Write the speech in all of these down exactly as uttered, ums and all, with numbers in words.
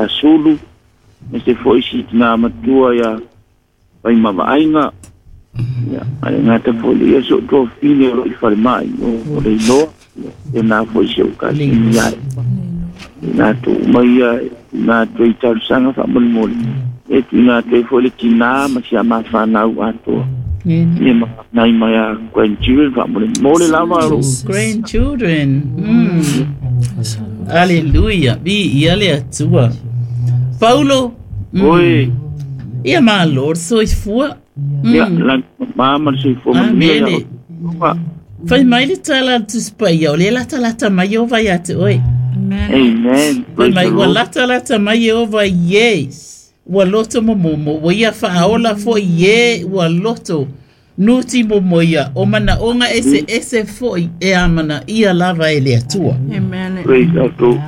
Sulu, aemaise foi si tinā matua ia Faimavaaiga, ia ae le gata foi i lea si ou tuafafine o loo i falemai o Leiloa, ia faapena foi si ou kasini ia Ema, i latou uma ia e tuuina atu ai talosaga faamolemole, e tuuina atu ai foi le tinā ma si a mafanau atoa, ia ma nai mai grandchildren faamolemole lava o lou Grandchildren. Mm. Aleluia. Viia le Atua. Paulo. Mm. Oi. Ia malo le soifua. Ia Mm. lagi mama ma le soifua manuia ia Amene. outou. Fai mai le tala a le Tusi Paia, o lea latalata mai Ieova ia te oe. Amen. Amen. Fai Praise mai the ua Lord. latalata mai Ieova i e ua loto momomo, ua ia faaola foʻi i e ua loto nuti momoia, o manaʻoga eseese foʻi e amanaia lava e le Atua. Amen. Praise the Lord.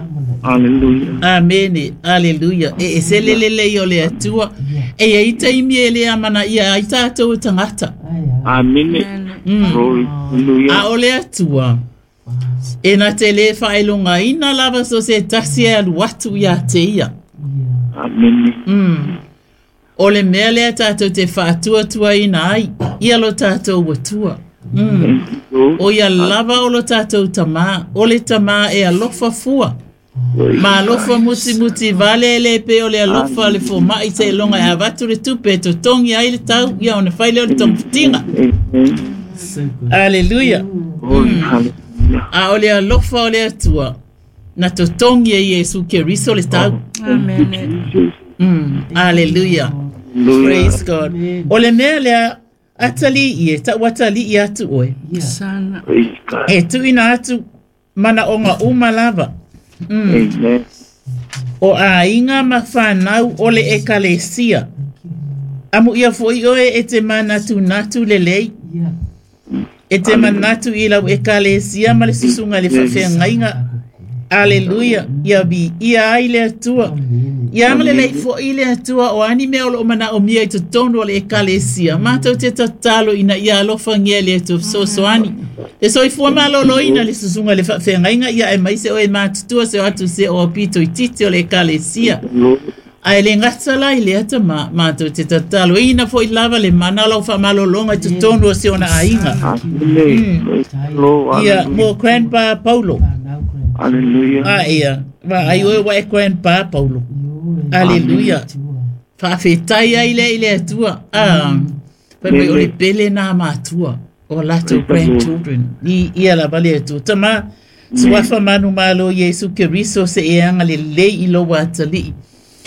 Hallelujah. Amene, aleluia. E ese le lelei o le Atua. E iai taimi e lē amanaia ai tatou e tagata. Amene. Amen. Mm. Glory. Hallelujah. A o le Atua e na te lē faailogaina lava so se tasi e alu atu iā te ia. Amene. Mm. O le mea lea tatou te faatuatuaina ai ia lo tatou Atua. Mm. Thank you, Lord. O ia lava o lo tatou tamā, o le tamā e alofa fua. Praise Ma alofa mutimuti vale e le pei o le alofa a le fomaʻi seiloga e avatu le tupe e totogi ai le tau ia ona fai lea o le togafitiga. Amen. Aleluia. Glory. Hallelujah. A o le alofa o le Atua na totogi e Iesu Keriso le tau. Thank you, Amen. Jesus. Mm. Aleluia. Hallelujah. Praise God. O le mea lea atalii e taʻu atalii atu oe. Sana. Praise God. E tuuina atu manaʻoga uma lava. Mm. Amen. O aiga ma fanau o le ekalesia. Amuia foʻi oe e te manatunatu lelei. E te manatu i lau ekalesia ma le susuga le faafeagaiga. Aleluia. Ia viia ai le Atua. Ia agalelei foʻi le Atua o ani mea o loo manaʻomia i totonu o le ekalesia. Matou te tatalo ina ia alofagia e le Atua fesoasoani. Le soifua malōlōina le susuga le faafeagaiga ia aemaise o e matutua se o atu se o aupito itiiti o le ekalesia. Lord. Ae le gata la i lea tamā, matou te tataloina foʻi lava le mana o lau faamalōlōga i totonu o si ona aiga. Amen. Praise the Lord. Ia Hallelujah. mo Grandpa Paulo. Hallelujah. A ia, vaai oe ua e Grandpa Paulo. Aleluia. Faafetai ai lea i le Atua. Ah, fai mai o le pele nā matua o latou grandchildren. I ia lava le Atua. Tamā, suafa manumalo Iesu Keriso se e agalelei i lou atalii.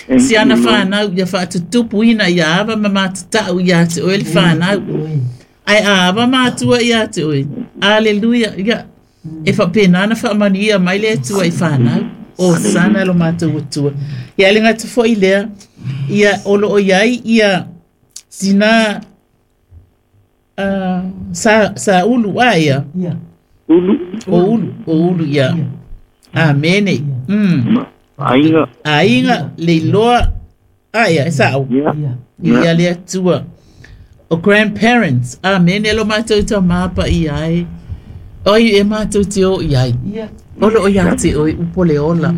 Thank Si ana you, Lord. whānau ia whaatutupuina ia ava ma matatau ia te oe le whānau. Ai a ava mātua ia te oe. Aleluia. Ia. E whapena ana whaamanu ia mai le Atua i whānau. O sana lo mātou Atua. Ia le ngata foʻi lea. Ia o loo iai ia tina uh, sa, sa ulu a ia. Ulu. O ulu. O ulu ia. Amene. Mm. Aiga. Aiga Leiloa. A ia, e sa'o. Yeah. Ia le Atua. O grandparents. Amene lo mātou tamā paia ai. Oi e mātou te o i ai. O loo ia te oe upu o le ola.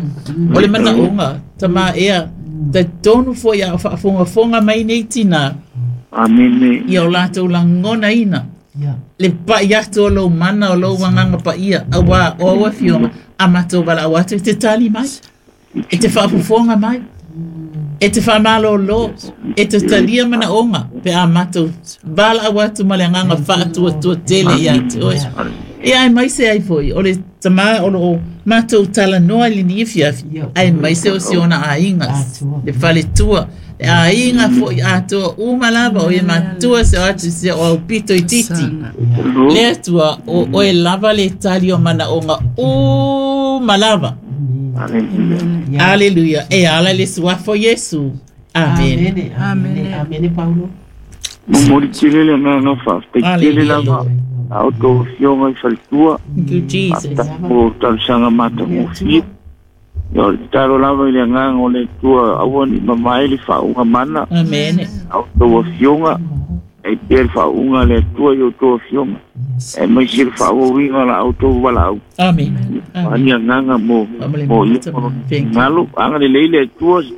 O le manaʻoga, tamā ea, talitonu foʻi a o faafogafoga mai nei tinā, Amene. ia o latou lagonaina. Le paʻi atu o lou mana o lou agaga paia, auā o au afioga, a matou valaau atu e te tali mai, e te faafofoga mai, e te faamalōlō, e te talia manaʻoga, pe a matou valaau atu ma le agaga faatuatua tele iā te oe. Ia aemaise ai foʻi, o le tamā o loo matou talanoa i lenei afiafi, aemaise o si ona aiga, le faletua, le aiga foʻi atoa uma lava o e matua se o atu se o aupito itiiti. Sana. Lord. Le Atua o oe lava le tali o manaʻoga uma lava. Hallelujah. Aleluia. E ala i le suafa o Iesu. Amene. Amene. Amene. Amene, Paulo. Momoli tele le agaga faafetai tele Aleluia. lava a outou afioga i faletua. Thank you, Jesus. Faafetai mo talosaga matagofie. Ia o le tatalo lava i le agaga o le Atua aua ne i mamae le faauuga mana Amene. a outou afioga, ai pea le faauuga a le Atua i outou afioga. E mai se le faaauauina o la outou valaau. Amene. Ani agaga mo Faamale mo ia mata. Thank you. galo agalelei le Atua se.